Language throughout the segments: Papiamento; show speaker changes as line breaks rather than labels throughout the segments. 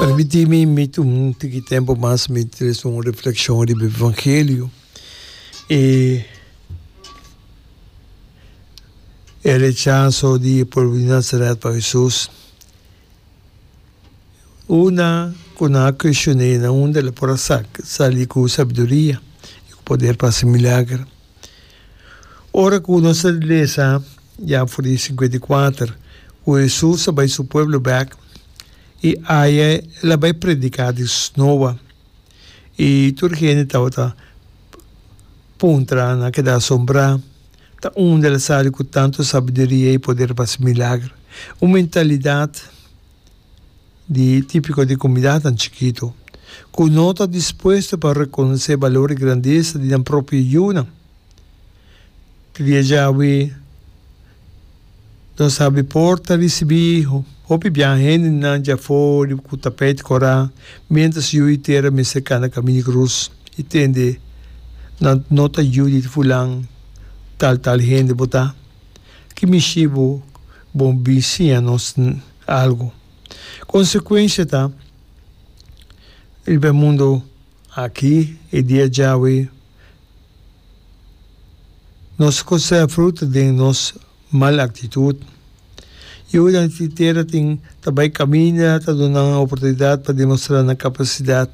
Permití mi mi tuma un tiki tempu mas mi trese un reflekshon riba evangelio i e rechaso di e pueblo di Nazaret pa Hesus. Una ku nan a kuestion'é na unda el a por a sali ku sabiduria i ku poder pa hasi milager. Ora ku nos ta lesa ya for di 54 ku Hesus a bai su pueblo bèk i aya el a bai prediká di snoa i tur hende tabata puntra, nan a keda asombrá. Ta unda el a sali ku tantu sabiduria i poder pa hasi milager? Un mentalidat di típiko di komunidatnan chikitu ku no ta dispuesto pa rekonosé balor i grandesa di nan propio yunan. Te dia djawe nos habri porta risibí hopi biaha hendenan djafó riba ku tapeit kòrá miéntras yu i tera mester kana kaminda di krus i tende nan no ta yu di fulan tal tal hende bo ta. Ki mishi bo bon bin siña nos algu? Konsekuensia ta riba e mundu aki e dia djawe nos kosea fruta den nos mal aktitut. Yunan di tera tin ta bai kaminda ta duna nan oportunidat pa demostrá nan kapasidat.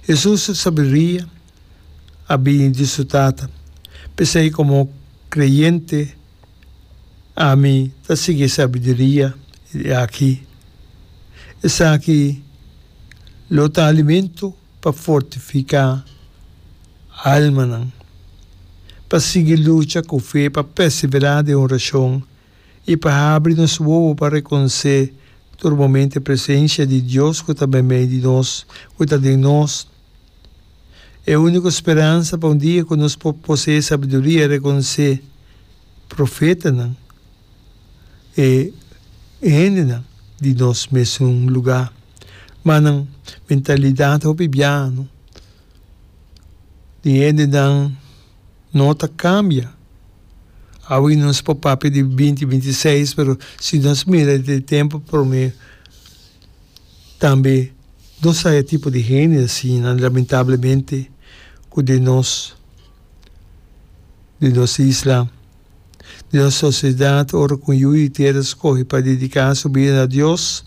Hesus su sabiduria a bini di su Tata. P'esei komo kreyente ami ta sigui e sabiduria aki. Esaki lo ta alimento pa fortifiká almanan, pa sigui lucha ku fe, pa perseverá den orashon i pa habri nos wowo pa rekonosé tur momento e presensia di Dios ku ta meimei di nos, ku ta den nos. E úniko speransa pa un dia ku nos por poseé sabiduria i rekonosé profetanan, e hendenan di nos mesun lugá. Ma nan mentalidat hopi biano di hendenan no ta kambia. Awe nos por papia di binti 26, pero si nos mira di tempu promé tambe nos haya tipo di hende asina lamentablemente ku den nos den nos isla, den nos sosiedat ora ku un yu di tera skohe pa dediká su bida na Dios.